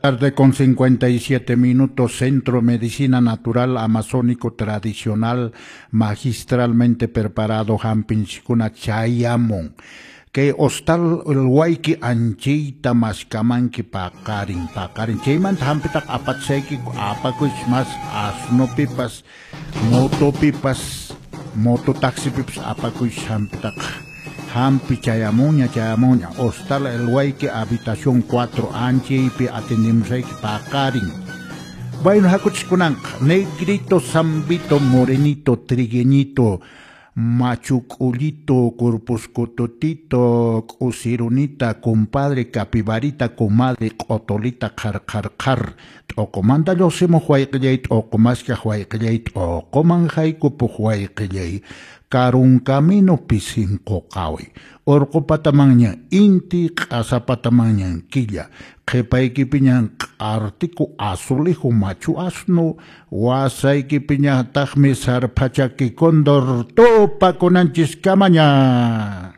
Tarde con 57 minutos, Centro Medicina Natural Amazónico Tradicional, magistralmente preparado, hampinchikuna chayamun. Kay hostal El Wayki anchayta maskamanki paqarin, paqarin. Chaymanta hampitaq apachayki apakuychis mas asnopipas, motopipas, mototaxipipas apakuychis hampitaq. Hampi chayamunña, chayamunña. Hostal El Wayki, habitación 4, anchaypi atendimosayki paqarin. Bueno, hakuchis kunanqa, negrito, zambito, morenito, trigueñito, machuculito, corpuscototito, k'usirunita, compadre, capibarita, comadre, q'otolita, qhar, qhar, qhar. T'uqumanta lluqsimuq wayqillay, t'uqu maskaq wayqillay, t'uquman haykupuq wayqillay. Karun camino pisin quqawi. Urqu patamanña inti, q'asa patamanña killa. Qhipaykipiñan q'artiku azulejo machu asno, wasaykipiñataqmi sarphachaki cóndor tupakunanchiskamaña.